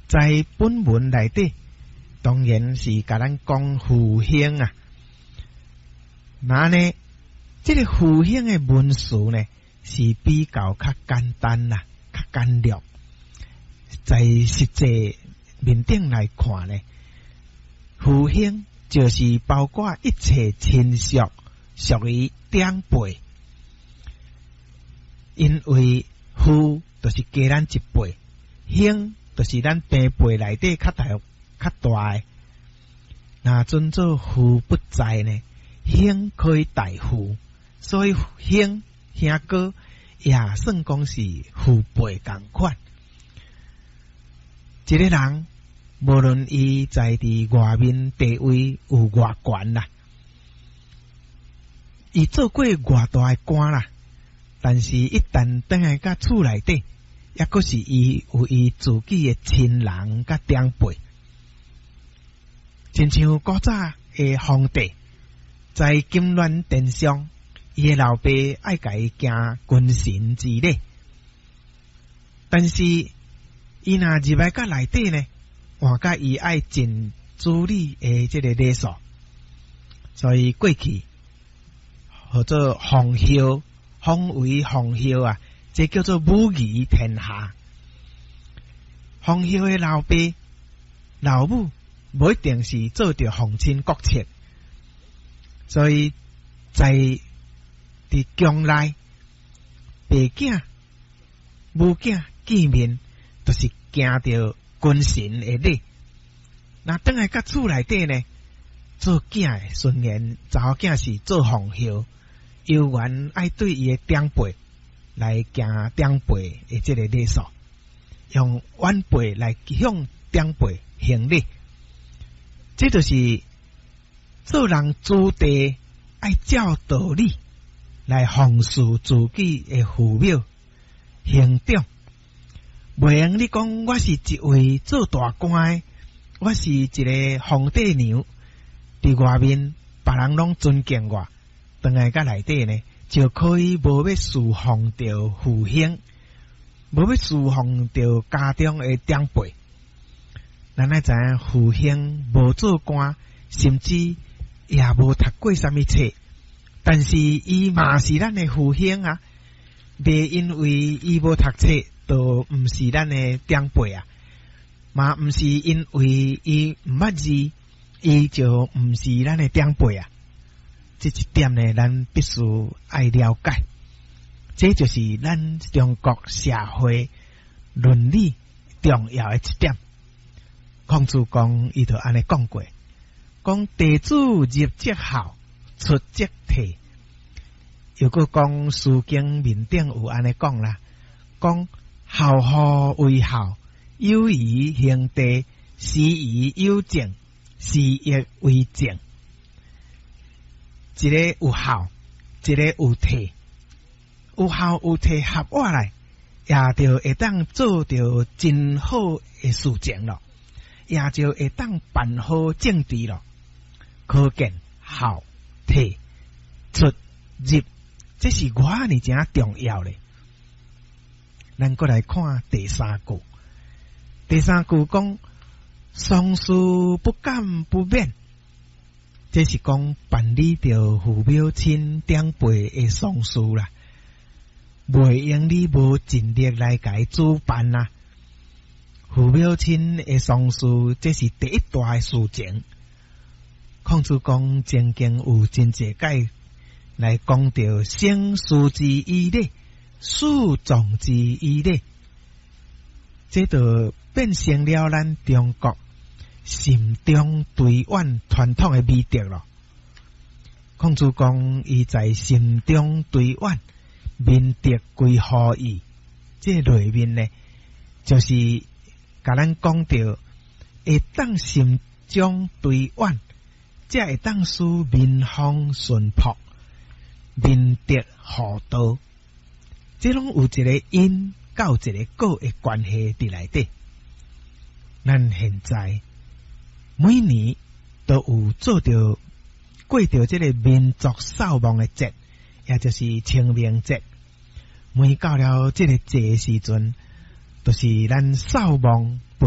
在本文內底，當然是共咱講父兄啊。那呢，這个父兄的文詞呢，是比較較簡單啦，較簡略。在實際面頂來看呢，父兄就是包括一切親屬，屬於長輩。因為父就是加咱一輩，兄就是咱平輩內底較大較大的。若尊做父不在呢，兄可以代父，所以兄兄哥也算講是父輩仝款。一个人無論伊在佇外面地位有偌懸啦，伊做過偌大的官啦，但是一旦轉來佮厝內底，抑閣是伊有伊自己的親人佮長輩，親像古早的皇帝在金鑾殿上，伊的老爸愛共伊行君臣之禮，但是伊若入來佮內底呢，換甲伊愛盡子女的這个禮數，所以過去號做奉孝，奉為奉孝啊，這叫做母儀天下。奉孝的老爸老母，無一定是做著皇親國戚，所以在佇宮內，爸囝母囝見面，就是行著君臣的禮。若轉來佮厝內底呢，做囝的雖然查某囝是做奉孝，猶原愛對伊的長輩來行長輩的這个禮數，用晚輩來向長輩行禮。這就是做人子弟愛照道理來奉事自己的父母兄長。袂用你講我是一位做大官的，我是一个皇帝娘，佇外面別人攏尊敬我，轉來佮內底呢，就可以無欲侍奉著父兄，無欲侍奉著家中的長輩。咱愛知影父兄無做官，甚至也無讀過啥物冊，但是伊嘛是咱的父兄啊！袂因為伊無讀冊，就毋是咱的長輩啊！嘛毋是因為伊毋捌字，伊就毋是咱的長輩啊！這一點呢，咱必須愛了解。這就是咱中國社會倫理重要的一點。孔子講，伊就按呢講過，講弟子入則孝，出則悌。又閣講《詩經》面頂有按呢講啦，講孝乎為孝，友以兄弟，師以友政，是亦為政。一个有孝，一个有悌，有孝有悌合倚來，也就會當做著真好的事情咯，也就會當辦好政治咯。可見孝悌出入，這是偌爾誠重要咧。咱閣來看第三句，第三句講喪事不敢不勉，這是講辦理著父母親長輩的喪事啦，袂用你無盡力來共伊主辦啊。父母親的喪事，這是第一大的事情。孔子講，曾經有真濟擺來講著生事之以禮，死葬之以禮，這就變成了咱中國慎終追遠傳統的美德咯。孔子講，伊在慎終追遠，民德歸乎義，這內面呢，就是共咱講著會當慎終追遠，才會當使民風淳樸，民德厚道。這攏有一個因佮一個果的關係佇內底。咱現在每年都有做著過著這个民族掃墓的節，也就是清明節。每到了這个節的時陣，就是咱掃墓